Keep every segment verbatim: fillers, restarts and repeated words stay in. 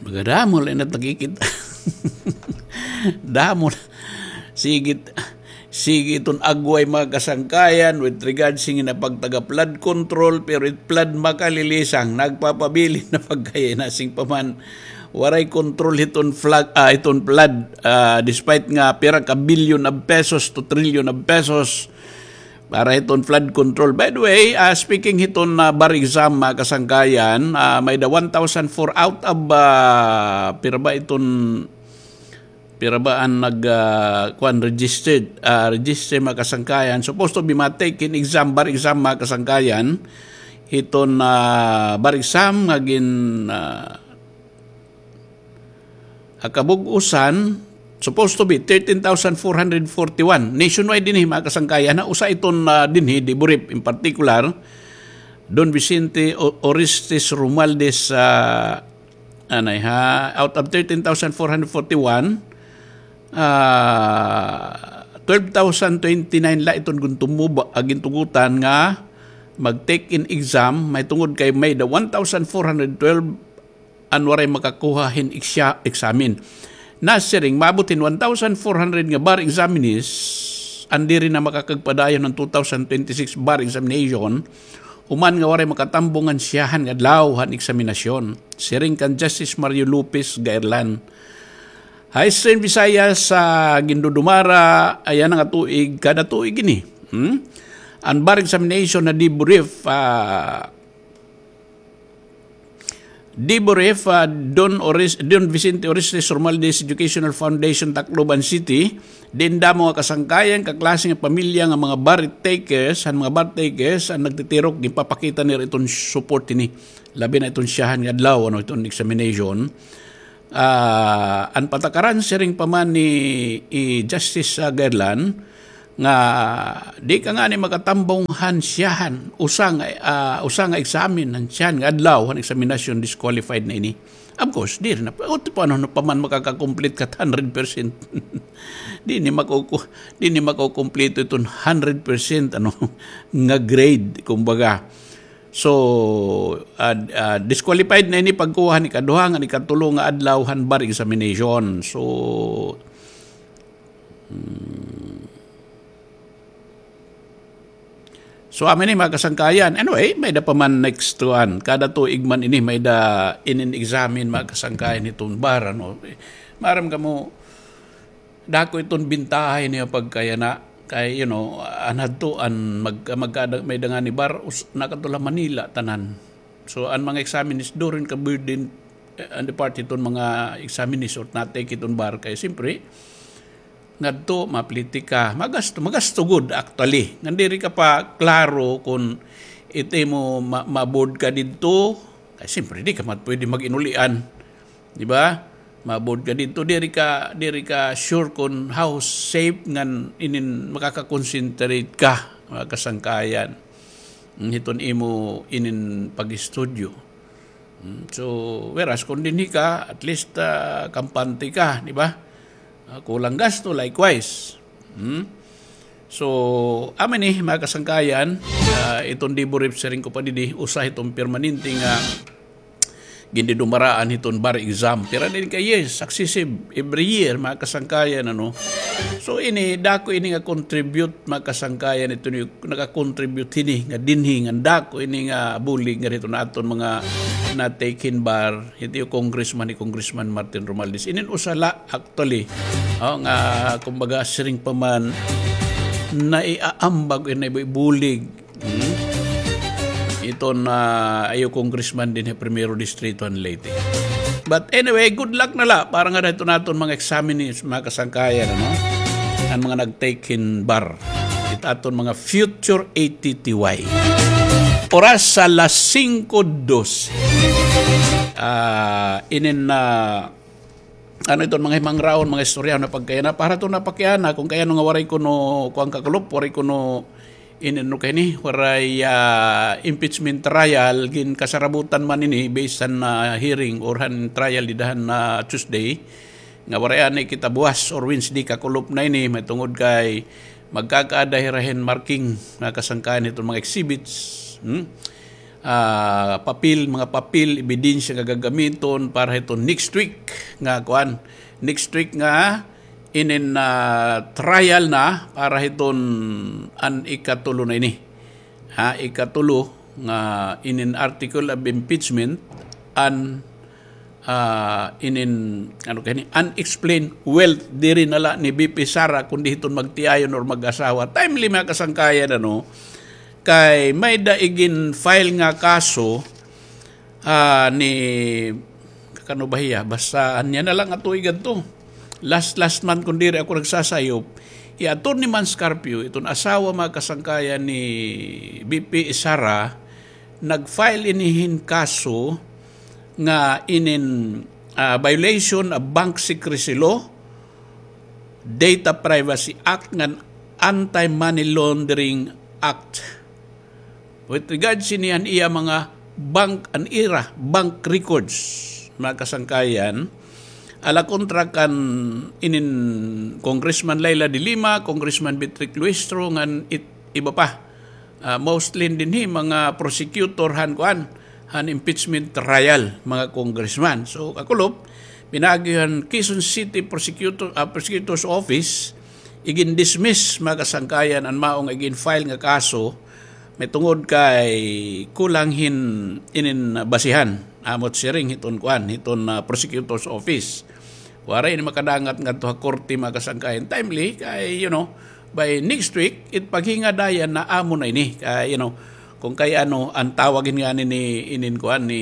Magadamo la inat nakikita. Damo na. Sige, sige iton agway, mga kasangkayan, with regards hin ginapagtaga flood control, pero it flood makalilisang, nagpapabilin na pagkaya na sing paman. Waray control hiton flag, ah, hiton flood, ah, despite nga pira ka billion of pesos to trillion of pesos para hiton flood control. By the way, ah, speaking hiton, ah, bar exam, mga kasangkayan, ah, may da one thousand four out of, ah, pira ba iton, pira ba an nag, ah, kuan, registered, ah, registered, mga kasangkayan. Supposed to be ma-take hin exam, bar exam, mga kasangkayan. Hiton, ah, bar exam nga gin, ah, ha kabug-usan, supposed to be thirteen thousand four hundred forty-one. Nationwide dinhi, mga kasangkayan, ha? Usa iton, ah, dinhi, Deboreef in particular, Don Vicente O-, Orestes Romualdez, ah, anay, ha? Out of thirteen thousand four hundred forty-one, ah, twelve thousand twenty-nine la iton gun tumuba, ah, gintugutan nga mag-take in exam, mahitungod kay may da one thousand four hundred twelve an waray makakuha hin eksya-, eksamen. Nasiring, maabot hin one thousand four hundred nga bar examinees an diri na makakagpadayon han two thousand twenty-six bar examination, human nga waray makatambong han syahan nga adlaw han eksaminasyon. Siring kan Justice Mario Lopez Gairlan. Ha Eastern Visayas, sa gindudumara yana nga tuig, kada tuig ini. Hmm? An bar examination ha Deboreef, ah, Deboreef, ah, Don Oris-, Don Vicente Orestes Romualdez Educational Foundation, Tacloban City, diin damo nga kasangkayan, kaklase nga pamilya nga mga bar takers, han mga bar takers, an nagtitirok, ginpapakita nira iton support ini. Labi na iton syahan nga adlaw, ano, iton examination. Ah, an patakaran siring pa man ni, i Justice, ah, Gairlan, nga di ka ngani makatambong han syahan, usa nga, ah, usa nga eksamen han syahan nga adlaw han eksaminasyon, disqualified na ini. Of course, diri na, o, paano na pa man makaka-complete ka hundred percent? Di ni makuku-, di ni makukumpleto iton hundred percent, ano, nga grade, kumbaga. So, ah, ah, disqualified na ini pagkuha han ikaduha ngan ikatulo nga adlaw han bar examination. So, hmm. So, amo ini, mga kasangkayan. Anyway, may da pa man next to an. Kada tuig man ini, may da inin examen, mga kasangkayan, hiton bar, ano. Maaram kamo, dako iton bintaha ini nga pagkayana. Kay, you know, an hadto, an mag-, magkada-, may da ngani bar, us-, nakadto la Manila, tanan. So, an mga examinees, diri ka burden, eh, an part hiton mga examinees or na-take hiton bar. Kay, siyempre, ngadto, mapliti ka. Magasto, magasto gud, actually. Ngan diri ka pa klaro kon it imo ma-, ma-board ka didto. Kay, siyempre, di ka man pwede mag-inulian. Di ba? Ma-board ka didto, diri ka, diri ka sure kon how safe ngan inin makaka-concentrate ka, mga kasangkayan. Mm, hiton imo inin pag-estudyo. Mm, so, whereas kon dinhi ka, at least, ah, kampante ka, di ba? Ah, kulang gasto, likewise. Hmm? So, amo ini, mga kasangkayan, ah, iton Deboreef, siring ko pa didi, usa hiton permanente nga gindidumaraan hiton bar exam. Pira na ini ka years, successive, every year, mga kasangkayan, ano. So, ini, dako ini nga contribute, mga kasangkayan, ito ni, naka-contribute hini, nga dinhi, nga dako ini nga bulig, nga hiton aton mga na-take hin bar, Hit iyo congressman, hi Congressman Martin Romualdez. Inin usa la, actually, o, nga, kumbaga, siring pa man, naiaambag, naibulig, hmm? Iton, ah, iyo congressman dinhi ha Primero Distrito han Leyte. But anyway, good luck na la para ngada hiton aton mga examinees, mga kasangkayan, ano? An mga nag-take hin bar. It aton mga future A T T Y. Oras alas singko dose. Ah, inin na, ano iton mga himangraon, mga istorya na pagkayana. Para to na pakiana, kung kayano nga waray kuno, kuan kakulop, waray kuno, inin no kay ni, waray, ah, impeachment trial, ginkasarabutan man ini, based han, ah, hearing or han trial dida han, ah, Tuesday. Nga waray anay kita buwas or Wednesday, kakulop na ini, mahitungod kay magkakaada hira hin marking, mga kasangkayan hiton mga exhibits. Hmm? ah, papel, mga papel, ebidensya nga gagamiton para hiton next week nga kuan, next week nga inin, ah, trial na para hiton an ikatulo na ini. Ha, ikatulo nga inin article of impeachment an, ah, inin, ano kani, unexplained wealth, diri na la ni V P Sara kundi hiton magtiayon or mag-asawa. Timely, mga kasangkayan, ano, kay may-ada igin-file nga kaso, ah, ni, kakano ba hiya? Basta, ania na la nga tuig adto. Last, last month, kun diri ako nagsasayop, hi Attorney Mans Carpio, iton asawa, mga kasangkayan, ni V P Sara, nag-file ini hin kaso nga inin, ah, violation of Bank Secrecy Law, Data Privacy Act, ngan Anti-Money Laundering Act. With regards ini, an iya mga bank, an ira bank records, mga kasangkayan, ala kontra kan inin Congressman Leila de Lima, Congressman Beatriz Luistro, ngan it-, iba pa. Ah, mostly dinhi mga prosecutor han kuan, han impeachment trial, mga congressman. So, kakulop, pinaagi han Quezon City Prosecutor, ah, Prosecutor's Office, igin-dismiss, mga kasangkayan, an mao nga igin-file nga kaso, may tungod kay kulang hin inin basihan, amo it siring hiton kuan, hiton, ah, prosecutor's office. Waray ini makadangat ngadto ha korte, mga kasangkayan, timely, kay, you know, by next week, it paghingadayan na amo na ini, kay, you know, kung kay ano, an tawag hin ngani ni inin kuan ni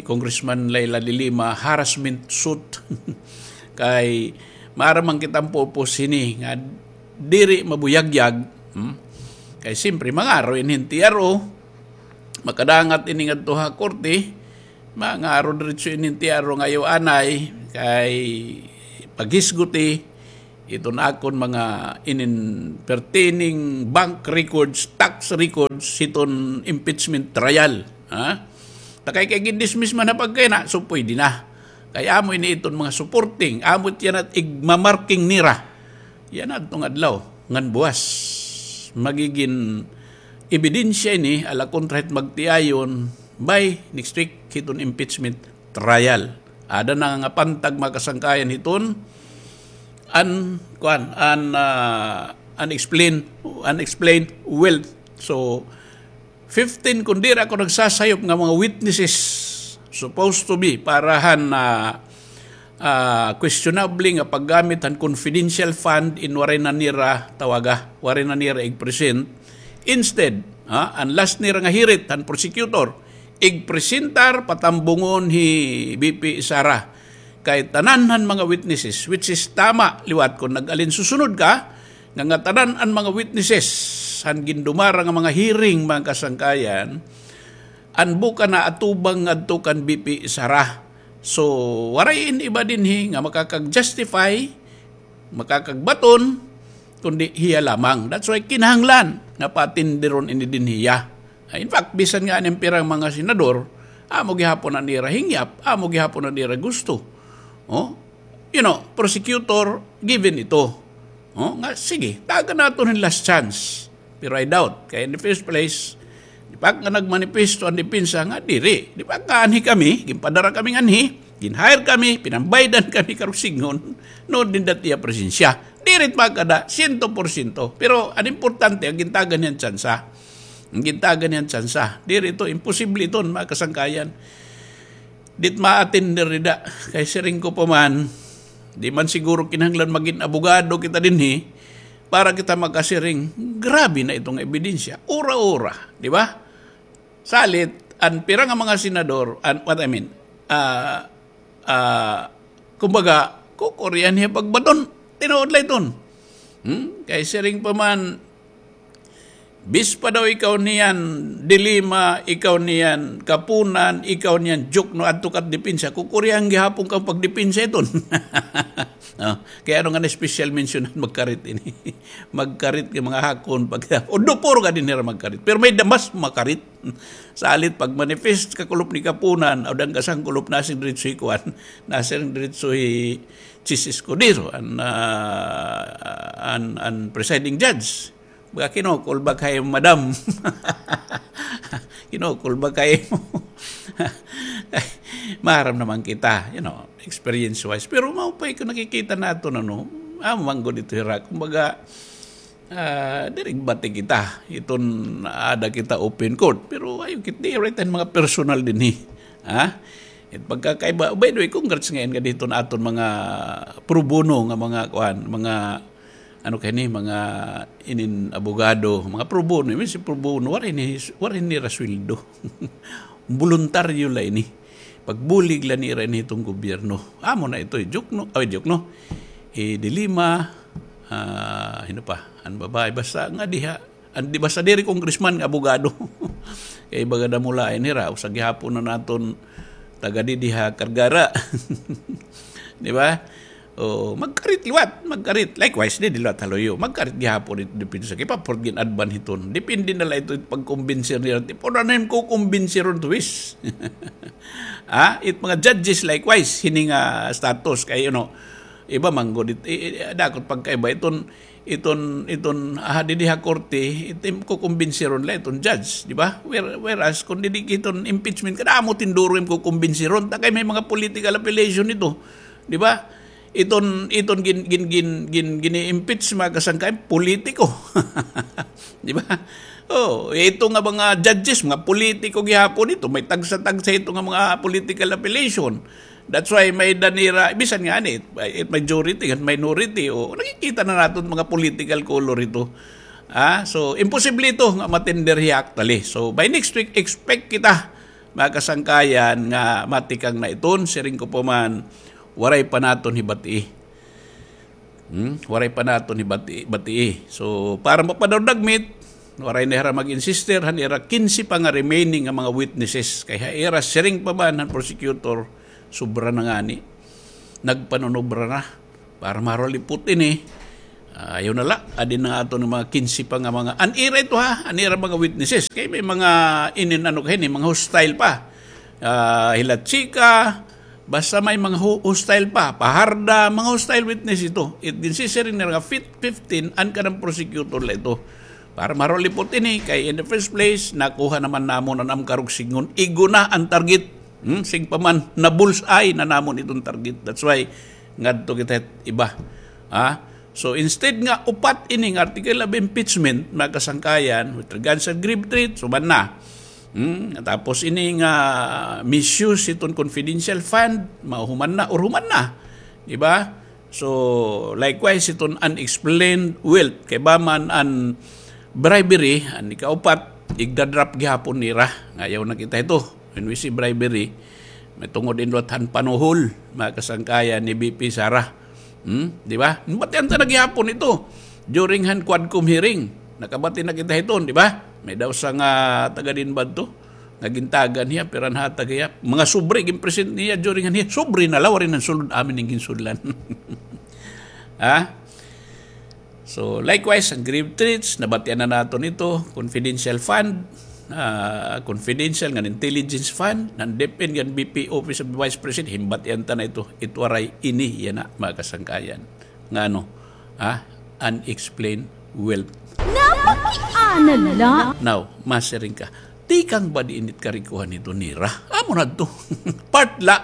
Congressman Leila de Lima, harassment suit. Kay maaram man kita an purpose hini nga diri mabuyagyag, hmm? Kay siyempre, mangaro ini hin T R O, makadangat ini ngadto ha korte, mangaro diretso ini hin T R O nga ayaw anay, kay paghisguti iton akon mga inin pertaining bank records, tax records, hiton impeachment trial, ha? Ta kay, kay gin-dismiss man ha pagkayana, so pwede na. Kay amo ini iton mga supporting, amo it yana it igmamarking nira. Yana adtong adlaw, ngan buwas, magigin ebidensya ini, ala kontra hit magtiayon, by next week, hiton impeachment trial. Ada na nga pantag, mga kasangkayan, hiton an, kuan, an, ah, unexplained, unexplained wealth. So, fifteen, kun diri ako nagsasayop, nga mga witnesses supposed to be para han, ah, ah, questionable nga paggamit han confidential fund, in waray na nira tawaga, waray na nira ig-present. Instead, ha, an last nira nga hirit han prosecutor, igpresentar, patambungon hi V P Sara. Kay tanan han mga witnesses, which is tama liwat kun nag-alinsusunod ka, nga, nga tanan an mga witnesses han gindumara nga mga hearing, mga kasangkayan, an buka naatubang ngadto kan V P Sara. So, waray in iba dinhi nga makakag-justify, makakagbaton, kundi hiya lamang. That's why kinahanglan nga patindiron ini dinhi hiya. In fact, bisan nga an pirang mga senador, amo gihapon an ira hingyap, amo gihapon an ira gusto. Oh? You know, prosecutor, given ito. Oh, nga, sige, tagan naton hin last chance. Pero I doubt. Kay in the first place, di pa nga nagmanifesto an depensa nga diri. Di pa nga anhi kami, ginpadara kami nganhi, gin-hire kami, pinambaydan kami karuyag sidngon, nuon dinhi ha iya presensya. Diri it makada, siyento porsyento. Pero an importante, an gintagan niyan tsansa. An gintagan niyan tsansa. Diri ito, imposible iton, mga kasangkayan. Di it ma-attender dida. Kay siring ko pa man, di man siguro kinahanglan magin abogado kita dinhi para kita makasiring, grabe na ito nga ebidensya. Ura-ura, di ba? Salit, an pira nga mga senador, an, what I mean, ah, ah, kumbaga, kukurian hiya pagbaton. Tinuod la iton. Hmm? Kay siring pa man, bis pa daw ikaw niyan, De Lima, ikaw niyan, Kapunan, ikaw niyan, Jokno, adto ka depensa, kukurian gihapon ka pagdepensa iton. Oh, kay ano nga na special mention, magkarit ini. Magkarit kay mga hakon, pag, o do puro ka dinhi ra magkarit. Pero may-ada mas makarit. Salit pag-manifest kakulop ni Kapunan, o dang kasangkulop nasiring diretso hi kuan, nasiring diretso hi Chiz Escudero, an, ah, an, an presiding judge. Baga kinukul ba kay madam? Kinukul ba kay mo? Maharam naman kita, you know, experience-wise. Pero maupay ko nakikita naton, ano, amo man gud ito hira. Kumbaga, ah, diri bati kita. Iton ada kita open court. Pero ayaw kit, di, right, an mga personal dinhi. Ha? It pagkakaiba, by the way, congrats ngayon nga dito na aton mga pro bono nga mga, kuan, mga, ano kay ni, mga inin abogado, mga pro bono, imbis pro bono, waray ni, waray nira sweldo. Boluntaryo la ini. Pagbulig la nira ini hiton gobyerno. Amo na ito, joke, no? Ay, joke, no? Eh, dilema, ah, hin-o pa, an babae, basta nga diha, an, di, basta diri congressman nga abogado. Kay baga damo lain hira, usa gihapon na naton taga didi ha Cargara. Di ba? O, magkarit liwat, magkarit. Likewise, didi liwat ha luyo. Magkarit gihapon it depensa. Kay pa-afford gin-advan hiton. Depende na la ito it pagkumbinser nira. Tipo na nim ko kumbinseron to is. Ha? It mga judges likewise, hini nga status. Kay, you know, iba man gud it, i-, i-, dakot pagkaiba iton, iton, iton, ah, didi ha korte, iton kukumbinseron la iton judge, di ba? Where-, whereas, kung didi iton impeachment, kadamo tinduro im kukumbinseron. Ta kay may mga political affiliation ito, di ba? Iton, iton gin-, gin-, gin-, gin-, gini-impeach, mga kasangkayan, politiko. Di ba? Oh, ito nga mga judges, mga politiko gihapon ito. May tagsa-tagsa ito nga mga political affiliation. That's why may danira, bisan nga ani, it, it majority, it minority, o nakikita na naton mga political color ito. Ah, so, imposible ito nga matender hiya actually. So, by next week, expect kita, mga kasangkayan, nga matikang na iton, siring ko pa man, waray pa naton hibatii. Hmm? Waray pa naton hibati-, batii. So, para mapadagmit, waray na hira mag-insister han ira kinse pa nga remaining nga mga witnesses. Kay ha ira siring pa man han prosecutor, sobra na ngani. Nagpanunobra na. Para marulipot ini. Ah, ayaw na la. Adi na aton mga kinse pa nga mga, an ira ito ha, an ira mga witnesses. Kay may mga inin ano kay ni, mga hostile pa. Ah, Hilachica, basta may mga hu-, hostile pa, Fajarda, mga hostile witness ito. It, ginsisiring nira nga fif-, fifteen, an kanan prosecutor la ito. Para marulipot ini, kay in the first place, nakuha naman namon an Amcarog Signgon. Igo na an target. Hmm? Siring pa man, na-bullseye na namon iton target. That's why, ngadto kita iba. Ha? So, instead nga upat ini nga article of impeachment, mga kasangkayan, with regards sa grave threat, suman na. Hmm, tapos ini nga misuse iton confidential fund, mahuman na or human na. Di ba? So, likewise, iton unexplained wealth. Kay ba man an bribery, an ikaupat, igda-drop gihapon nira. Nga ayaw na kita ito. When we say bribery, may tungod in liwat han panuhol, mga kasangkayan ni V P Sara. Hmm? Di ba? Nabatian ta na gihapon ito. During han Quadcom hearing, nakabati na kita hiton, di ba? May daw sa nga taga din ba ito? Nga gintagan hiya, pira an hatag hiya. Mga sobre, gin-present niya during han hearing. Sobre na la, waray na sulod amin an ginsudlan. Ha? So, likewise, an grave threats, nabatian na naton ito, confidential fund, ah, confidential ngan intelligence fund, ngan DepEd ngan V P Office of the Vice President, hinbatian ta na ito, it waray ini, yana, mga kasangkayan. Nga ano, ah, unexplained wealth. Napakiana la. Now, masiring ka, tikang ba diin it karikohan ito nira? Amo na ito. Part la.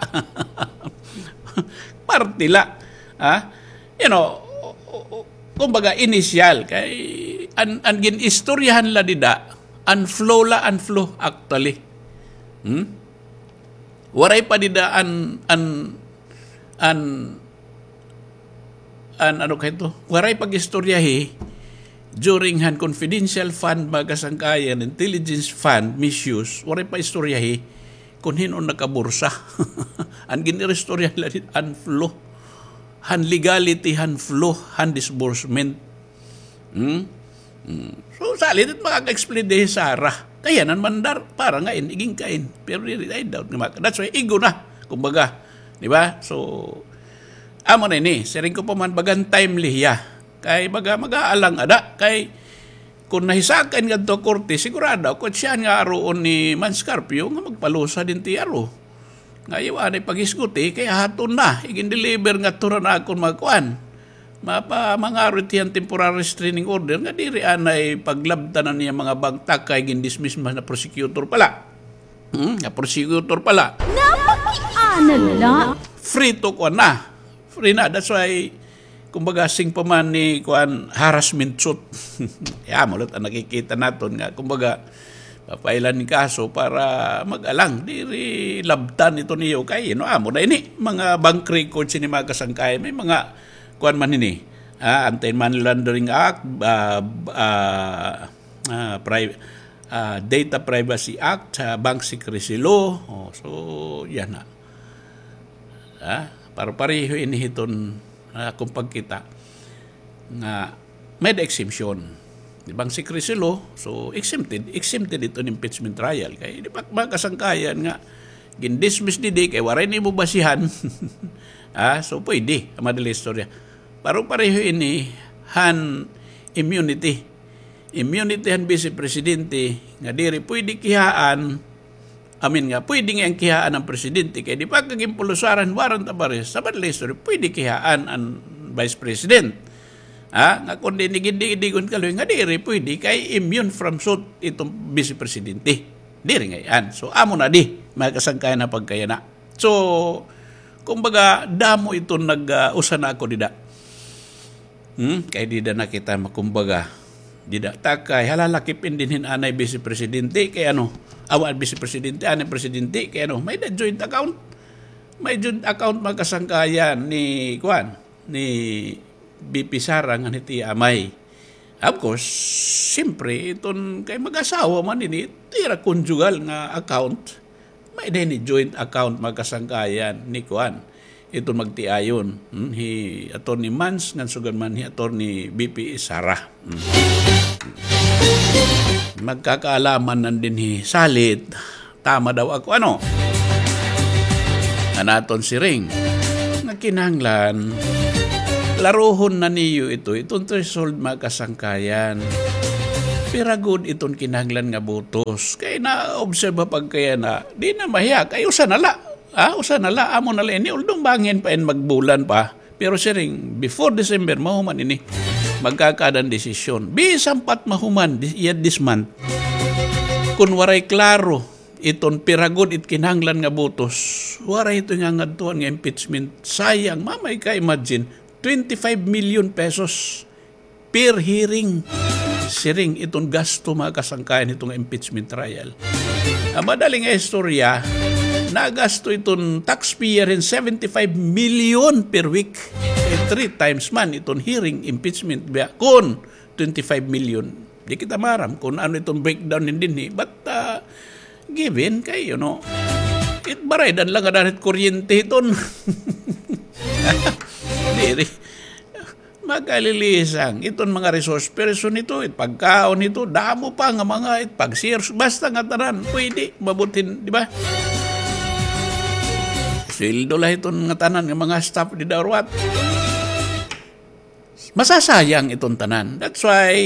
Parte la. Ha? You know, kumbaga, inisyal, kay an, an gin-istoryahan la dida, an flow la, an flow, actually. Hmm? Waray pa dida an, an, an, an, ano kay ito? Waray pag-istoryahi during han confidential fund, mga kasangkayan, intelligence fund, misuse, waray pa istoryahi kun hin-o nakabursa. An gin-istoryahan la dida, an flow. Han legality, han flow, han disbursement. Hmm? Hmm. So, salit it makaka-explain didi hi Sara. Kay yana man dar, para nga in, igin kain. Pero diri, I doubt nga maka-, that's why, igo na. Kumbaga, di ba? So, amo na ini. Siring ko pa man, bagan timely hiya. Kay baga, mag-aalang ada. Kay, kun nahisakan ngadto korte, sigurado ako, siya nga aruon ni Mans Carpio nga magpalusa din T R O. Nga ayaw anay paghisguti, kay haton na, igin-deliver ngadto na akon mga kuan. Mapa, mangarit hiya hin temporary restraining order nga diri anay paglabtan an iya mga bank, ta kay gindismiss man na prosecutor pala. Hmm, na prosecutor pala. Napakiana la. Free to kuan na. Free na. That's why, kumbaga, sing pa man ni kuan, harassment suit. Kay amo la it an nakikita naton nga, kumbaga, papailan hin kaso para mag-alang. Diri labtan ito niyo kay, you know, amo na ini. Mga bank records ini, mga kasangkayan. May mga kuan man ini. Ah, Anti-Money Laundering Act, ah, ah, ah, pri-, ah, Data Privacy Act, ah, Bank Secrecy Law. Oh, so, yana. Ah, pare-pareho ini hiton, ah, akon pagkita nga may-ada exemption. Di ba, an secrecy law, so exempted, exempted iton impeachment trial. Kay di ba, mga kasangkayan, nga gindismiss didi kay waray nimo basihan. Ah, so pwede, an madali istorya. Pare-pareho ini han immunity. Immunity han vice presidente nga diri pwede kihaan, I mean nga, pwede ngay-an kihaan an presidente, kay di ba, kay ginpulusaran warrant of arrest, sa madali istorya, pwede kihaan an vice president. Ha? Nga kundi ini gindi-, gindi-, gun kaloy, nga diri pwede, kay immune from suit iton vice presidente. Diri ngay-an. So, amo na di, mga kasangkayan, na pagkayana. So, kumbaga, damo iton nag, ah, usa na ako dida. Hmm? Kay dida na kita makumbaga. Dida ta kay hala, lakip in dinhi hin anay vice presidente kay ano, awa, vice presidente, anay presidente kay ano, may-ada joint account. May joint account, mga kasangkayan, ni, kuan, ni V P Sara ngan hit iya amay. Of course, siyempre, iton kay mag-asawa man ini, ira conjugal nga account. May-ada ini joint account, mga kasangkayan, ni kuan, iton magtiayon, hmm, hi Attorney Mans ngan sugad man hi Attorney V P Sara. Hmm. Magkakaalaman nan dinhi salit, tama daw ako, ano? An aton siring nga kinahanglan, klarohon na niyo ito, iton threshold, mga kasangkayan. Pira gud iton kinahanglan nga botos? Kay na-observe pagkayana, di na mahiya, kay usa na la. Ah, usa na la, amo na la ini, although bangin pa in magbulan pa. Pero siring, before December, mahuman ini. Magkakaada hin desisyon. Bisan pa it mahuman, this, yet this month. Kun waray klaro, iton pira gud it kinahanglan nga botos, waray ito nga ngadtuan nga impeachment. Sayang, mamay ka, imagine, twenty-five million pesos per hearing. Siring iton gasto, mga kasangkayan, hito nga impeachment trial. An madali nga istorya, nagasto iton taxpayer hin seventy-five million per week. Eh, three times man iton hearing impeachment biya kon twenty-five million. Di kita maaram kun ano iton breakdown hin dinhi. But, ah, given kay, you know, it baraydan la ngada hit kuryente hiton. Diri. Makalilisang. Iton mga resource person hito, it pagkaon hito, damo pa nga mga, it pag-search, basta ngatanan, pwede, mabutin, di ba? Sweldo la hiton ngatanan nga mga staff dida or what. Masasayang iton tanan. That's why,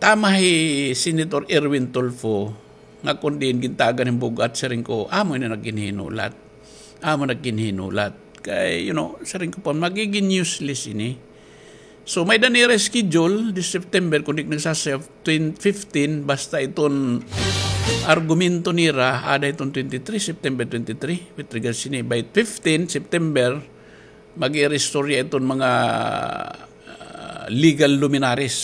tama hi Senator Erwin Tulfo, nga kun diin gintagan hin bug-at, siring ko, amo ini naghinhinulat. Amo naghinhinulat. Kay, you know, siring ko pa, magigin useless ini. So, may-ada nira schedule, this September, kun di ak nagsasayop, twen-, fifteen, basta iton argumento nira, ada iton twenty-three, September twenty-three, with regards sini, by fifteen September, mag-iristorya iton mga, ah, legal luminaries.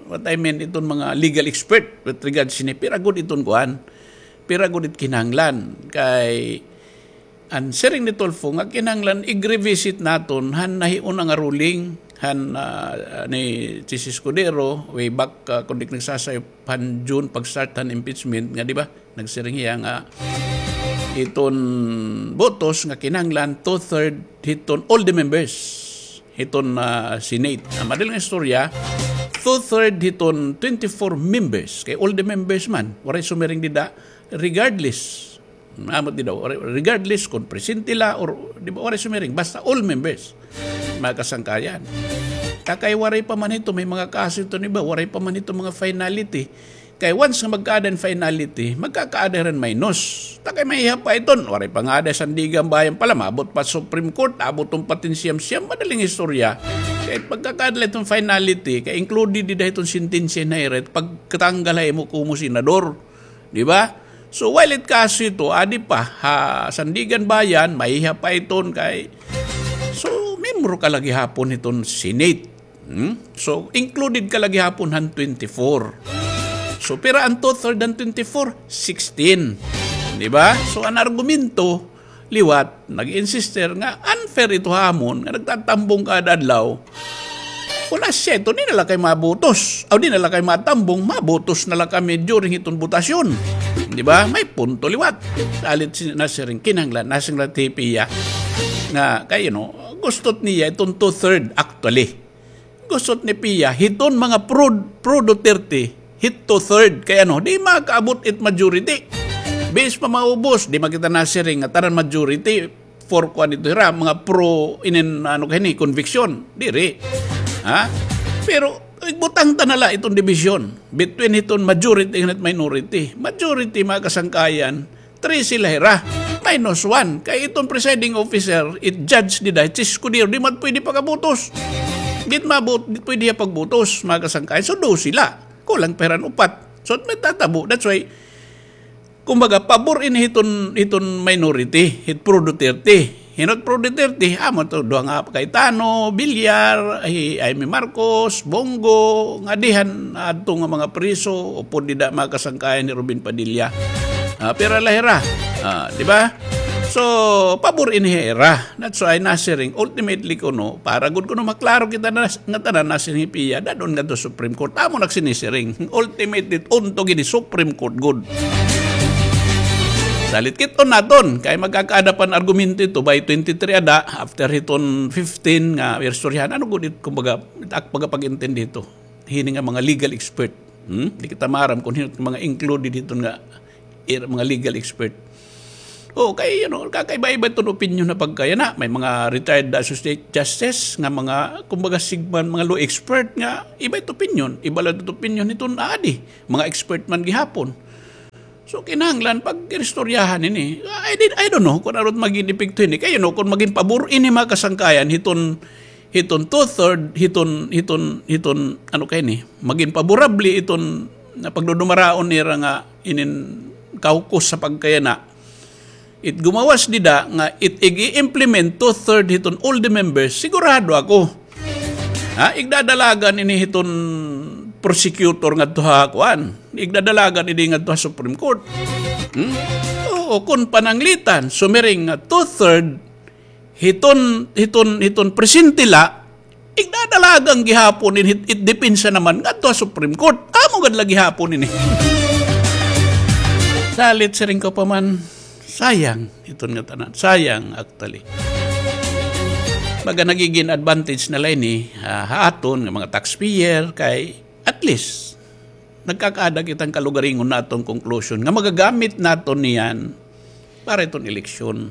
What I mean, iton mga legal expert with regards sini, pira gud iton kuan, pira gud it kinahanglan. Kay, an siring ni Tulfo nga kinahanglan i-revisit naton han nahiuna nga ruling han, ah, ni Chiz Escudero, way back, ah, kun di ak nagsasayop, han June pag-start han impeachment nga, di ba? Nagsiring hiya nga iton botos nga kinahanglan two-third hiton all the members hiton, ah, Senate. An madali nga istorya, two-third hiton twenty-four members, kay all the members man, waray sumiring dida, regardless. Amo dida, regardless kun presente la or, di ba, waray sumiring, basta all members, mga kasangkayan. Ta kay waray pa man hito, may mga kaso hito, di ba, waray pa man hito mga finality. Kay once nga magkaada hin finality, magkakaada hira hin minus. Ta kay mahihap pa iton, waray pa ngada Sandiganbayan pa la, maabot pa Supreme Court, abot pa hin siyam-siyam, madaling istorya. Kay pagkakaada la iton finality, kay included dida hiton sentensya na hira, pagkatanggal ha imo komo senador. Di ba? So, while it kaso ito, adi pa, ha, Sandiganbayan, mahihap pa iton kay, so, miyembro ka la gihapon hiton Senate. Hmm? So, included ka la gihapon han twenty-four. So, pira an two-third han twenty-four? Sixteen. Di ba? So, an argumento, liwat, nag-insister nga unfair ito ha amon, nga nagtatambong kada adlaw. Kon asya ito, di na la kay mabutos. Aw, di na la kay matambong, mabutos na la kami during hiton botasyon. Di ba? May punto liwat. Salit si, nasiring, kinahanglan, nasiring la hi Pia. Nga, kay, you know, gusto niya iton two-third, actually. Gusto ni Pia, hiton mga pro, pro Duterte, hit two-third. Kay ano, di makaabot it majority. Base pa maubos, di man kita nasiring nga tanan majority for kuan ito hira, mga pro inin, ano kay ni, conviction. Diri. Ha? Pero, igbutang ta na la iton division between hiton majority and minority. Majority, mga kasangkayan, trese la hira. Minus one. Kay iton presiding officer, it judge dida, it escudero, di man pwede pagabutos. Di mabut-, di pwede hiya pagbutos, mga kasangkayan. So, dose la. Kulang pa hira hin upat. So, may tatabo. That's why, kumbaga, pabor ini hiton, hiton minority, hit pro Duterte. Hinot pro Duterte, amo to, duha nga Cayetano, Villar, hi Imee Marcos, Bong Go, nga dihan adto nga mga priso, upod dida mga kasangkayan ni Robin Padilla. Ah, pira la hira. Ah, di ba? So, pabor ini hira. That's why nasiring, ultimately kuno, para gud kuno maklaro kita na, nga tanan nasiring hi Pia, dad-on ngadto Supreme Court. Amo nagsinisiring. Ultimate it, untog ini Supreme Court gud. Salit kit-on naton, kay magkakaada pa hin argumento ito by twenty-three ada, after hiton fifteen nga irstoryahan. Ano gud it, kumbaga, it ak pagkapag-intindi hito. Hini nga mga legal expert. Hmm? Di kita maaram kon hin-o mga included hiton nga ir-, mga legal expert. O, kay, you know, kakaiba-iba iton opinyon na pagkayana. May mga retired associate justice nga mga, kumbaga, sigman, mga law expert nga iba it opinyon. Iba la it opinyon hiton adi. Mga expert man gihapon. So, kinahanglan pag-iristoryahan ini. I did, I don't know kon ano it magin epekto hini. Kay, you know, kon magin pabor ini mga kasangkayan, hiton hiton two-third, hiton, hiton, hiton, ano kay ni, magin paborable iton na pagdudumaraon nira nga inin caucus sa pagkayana. It gumawas dida nga it ig-i-implement two-third hiton all the members, sigurado ako. Ha, igdadalagan ini hiton prosecutor ngadto ha kuan. Igdadalagan ini ngadto ha Supreme Court. Hmm? Oo, kon pananglitan, sumiring nga two-third hiton, hiton, hiton presente la, igdadalagan gihapon in hit, it depensa naman ngadto ha Supreme Court. Amo gad la gihapon ini. Salit siring ko pa man, sayang iton nga tanan. Sayang, actually. Baga nagigin advantage na la ini, ah, ha aton nga mga taxpayer kay at least nagkakaada kita hin kalugaringon naton conclusion nga magagamit naton niyan para iton eleksyon.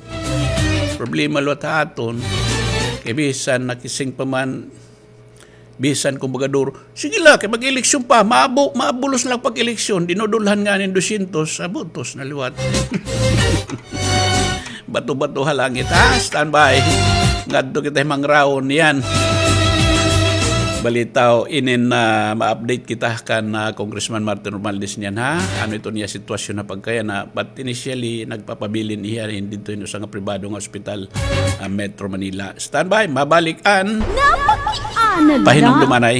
Problema liwat ha aton, kay bisan nakising pa man, bisan kumbaga duro, sige la, kay mag-eleksyon pa, maabo, maabulos la pag-eleksyon, dinudulhan ngani hin dosyentos, ah, botos na liwat. Bato-bato ha langit, ha? Standby. Ngadto kita hi Mang Raon, niyan. Balitaw, inin, ah, ma-update kita kan, ah, Congressman Martin Romualdez niyan, ha? Ano iton iya sitwasyon ha pagkayana, but initially, nagpapabilin hiya hin didto hin usa nga pribado nga ospital, ah, Metro Manila. Standby, mabalik an Napakiana la. Pahinumdumanay.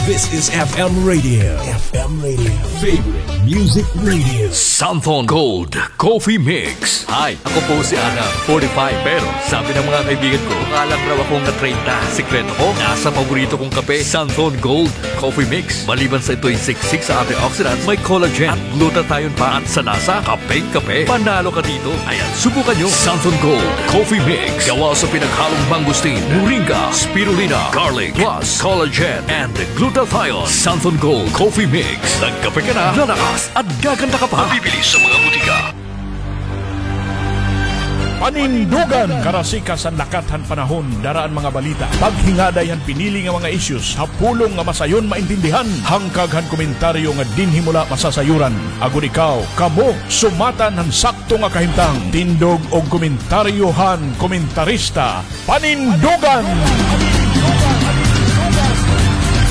This is F M Radio. F M Radio. Favorite music radio. Santhon Gold Coffee Mix. Hi, ako po si Adam, forty-five. Pero sabi ng mga kaibigan ko, mukha lang raw akong na-treinta. Sikreto ko, nasa paborito kong kape, Santhon Gold Coffee Mix. Maliban sa ito'y siksik sa antioxidants, may collagen at glutathione pa. At sa lasa, kapeng-kape. Panalo ka dito. Ayan, subukan nyo. Santhon Gold Coffee Mix. Gawa sa pinaghalong mangosteen, moringa, spirulina, garlic, plus collagen and glutathione. Santhon Gold Coffee Mix. Nagkape ka na, lalakas at gaganda ka pa. Mabibili sa mga butika. Panindugan! Karasikas han lakat han panahon, dara an mga balita, paghingaday han pinili nga mga issues ha pulong nga masayon maintindihan, hangkag han komentaryo nga dinhi mo la masasayuran. Agod ikaw, kamo, sumatan han sakto nga kahimtang. Tindog og komentaryo han komentarista. Panindugan!